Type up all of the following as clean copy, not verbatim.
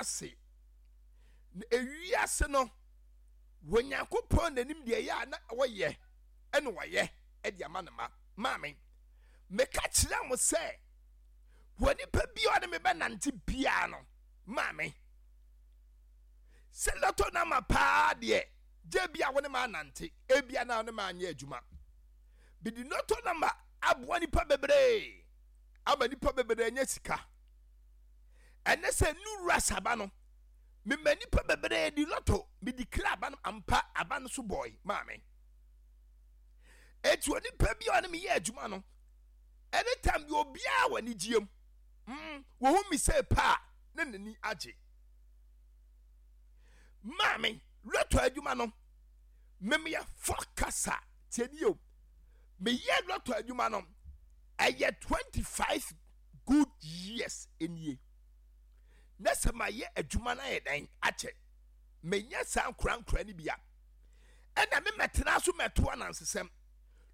ase. Na ewiase no, wɔ Nyankopɔn n'anim deɛ ɛyɛ a na wɔyɛ ɛna wɔyɛ ɛde ama ne ma. Maame, meka kyerɛ mo sɛ, wɔ nipa bi a ɔne me bɛnante biara no, maame, sɛ lɔtɔ no ama paa deɛ, gye bi a wo ne ma anante, ebia na wo ne ma anyɛ adwuma. Bidi lɔtɔ no ama aboa nipa bebree, ama nipa bebree anya sika. Ɛnɛ sɛ nuru asaba no, mema nipa bebree di lɔtɔ, medi kra aba no ampa aba no so bɔe maame. Eti onipa bi a ɔne me yɛ adwuma no, anytime bi obiara wɔ anigyeɛ mu, wɔhu me sɛ paa na n'ani agye. Maame, lɔtɔ adwuma no, memeyɛ fɔkasa tie ni o. Meyɛ lɔtɔ adwuma no, ɛyɛ 25 good years nie. Na sɛ mayɛ adwuma no ayɛ dɛn akyɛ, menyɛ saa nkorankora no bia. Ɛna me mɛtena so mɛto anansesɛm.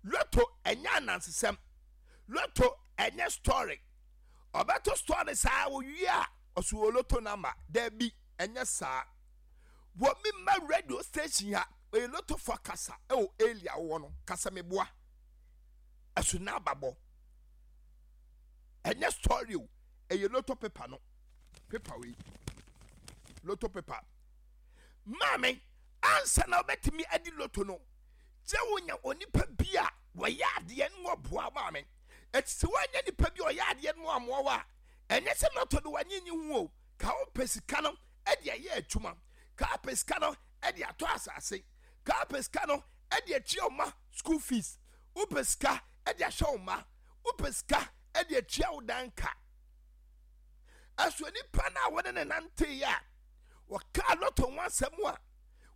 Lotto ɛnyɛ anansesɛm. Lotto ɛnyɛ story. Ɔbɛto story saa owie a ɔso wɔ lotto number. Dabi, ɛnyɛ saa. Wɔ me ma radio station ha, ɔyɛ lotto fo kasa ɛwɔ area wɔ no, kasa meboa. Ɛso na ababɔ. Ɛnyɛ story o, ɛyɛ lotto paper no. Paper wei. Lotto paper. Maame, ansa na wobɛtumi adi lotto no, gye wonya onipa bi a wɔyɛ adeɛ no wɔboa maame. Ɛti sɛ woanya nipa bi a ɔyɛ adeɛ no amoa wo a, ɛnyɛ sɛ lotto no wanye nyi ho o. Ka wopɛ sika no de ayɛ adwuma, ka wopɛ sika no de atɔ asase, ka wopɛ sika no de atua wo ma school fees, wopɛ sika de ahwɛ wo ma, wopɛ sika de atua wo dan ka. Ɛso nipa no a wɔne ne nanteeɛ a wɔkaa lotto ho asɛm a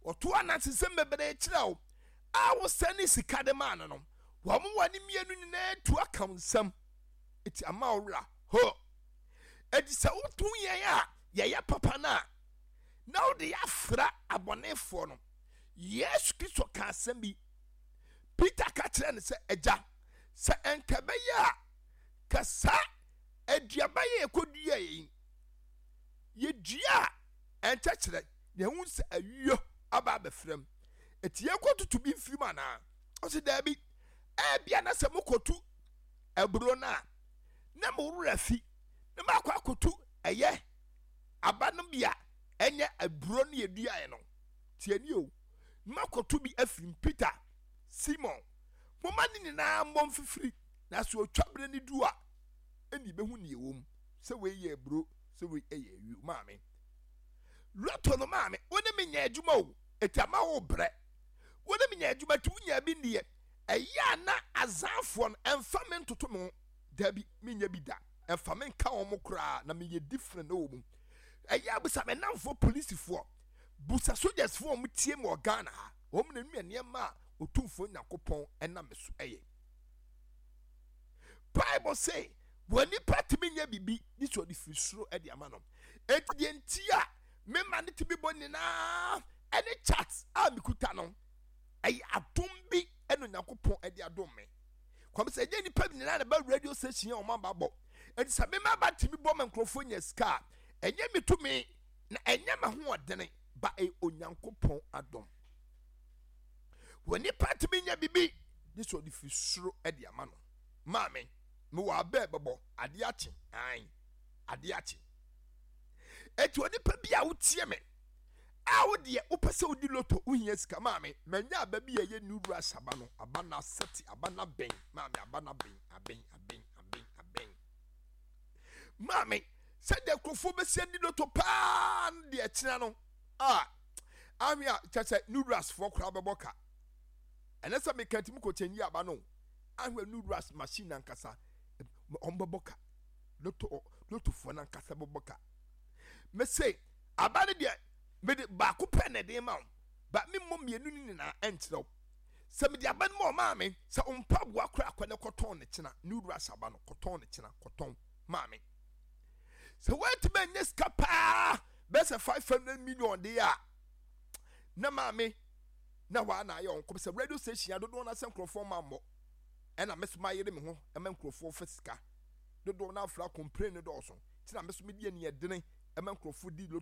wɔto anansesɛm bebree kyerɛ wo a wosɛne ne sika de maa no no, wɔn wɔ ne mmienu nyinaa tu aka wo nsam eti ama wo werɛ ho. Eti sɛ woto yɛn a yɛyɛ papa no a, na wode yɛafra abɔnefoɔ no. Yesu Kristo ka asɛm bi. Peter ka kyerɛ no sɛ, Agya, sɛ ɛnka ɛbɛyɛ a, ka saa aduaba yɛ yɛkɔdua yi, yɛdua a ɛnkyɛkyerɛ na ɛhu sɛ ayuo aba abɛfra mu. Eti yɛkɔtutu bi mfiri mu anaa? Ɔsi daabi. Ebia na sɛ mokɔtu aburo no a, na mo werɛ afi na moakɔ akɔtu ɛyɛ aba no bi a ɛnyɛ aburo no yɛduaeɛ no. Tie ni o, na moakɔtu bi afiri mu. Peter, Simon, momma ne nyinaa mmɔ mfifiri, na sɛ otwa berɛ no du a, ɛne yɛbɛhu nea ɛwɔ mu, sɛ wei yɛ aburo, sɛ wei yɛ ayuo. Maame, lotto no maame, wo ne me nyɛ adwuma o, eti ama wo brɛ. Wo ne me nyɛ adwuma ti wonya bi nniɛ. Ɛyɛ a na azanfoɔ no ɛmfa me ntoto me ho. Dabi, menyɛ bi da. Ɛmfa me nka wɔn koraa na meyɛ different wɔ mu. Ɛyɛ a busa me namfoɔ polisifoɔ, busa sogyasfoɔ a wɔn tie me wɔ Ghana ha. Wɔn na nua nneɛma a Otumfoɔ Nyankopɔn ɛnam me so ɛyɛ. Bible say wɔ nipa tumi nyɛ biribi ne sɛ ɔde firi soro de ama no. Enti deɛ nti a me ma no tumi bɔ nyinaa ɛne chat a mekuta no ɛyɛ adom bi ɛna Onyankopɔn ɛde adom me. Kwame sɛ ɛnyɛ nipa nyinaa na ba radio station a wɔn aba bɔ. Enti sɛ me ma ba tumi bɔ ma nkurɔfoɔ nya sika a, ɛnyɛ me tumi na ɛnyɛ m'ahoɔdene ba ɛyɛ Onyankopɔn adom. Wɔ nipa tumi nya biribi ne sɛ ɔde firi soro de ama no. Maame, mewɔ abɛ bɛbɔ adeɛ akye, ae, adeɛ akye. Eti onipa bi a wotie me a wo deɛ wopɛ sɛ wodi loto wohia sika maame manya aba bi a ɛyɛ new rush aba no aba no asɛte aba no abɛn maame aba no abɛn abɛn abɛn abɛn abɛn maame sɛdeɛ nkurɔfoɔ bɛsi adi loto paa no deɛ ɛkyena no a ahwe a kyɛ sɛ new rush foɔ koraa bɛbɔ ka ɛnɛ sɛ meka tumi kɔ kyɛnyi aba no ahwɛ new rush machine ankasa wɔn bɛbɔ ka loto lotofoɔ no ankasa bɛbɔ ka mese aba no deɛ mede baako pɛ na ɛde ma wo ba memmɔ mmienu no nyinaa ɛnkyerɛ wo sɛ mede aba no ma ɔmaa me sɛ mpaboa koraa kɔ ne kɔtɔn ne kyena ne wura hyɛ aba no kɔtɔn ne kyena kɔtɔn maa me sɛ woantumi anyɛ sika paa bɛyɛ sɛ 500 million de a na maame na hɔ a na ayɛ ɔnkɔm sɛ radio station adodoɔ no asɛ nkurɔfoɔ ma mmɔ ɛna me so mayere me ho ɛma nkurɔfoɔ fa sika dodoɔ no afra complain no dɔɔso nti na me so mede aniɛdene ɛma nkurɔfoɔ di.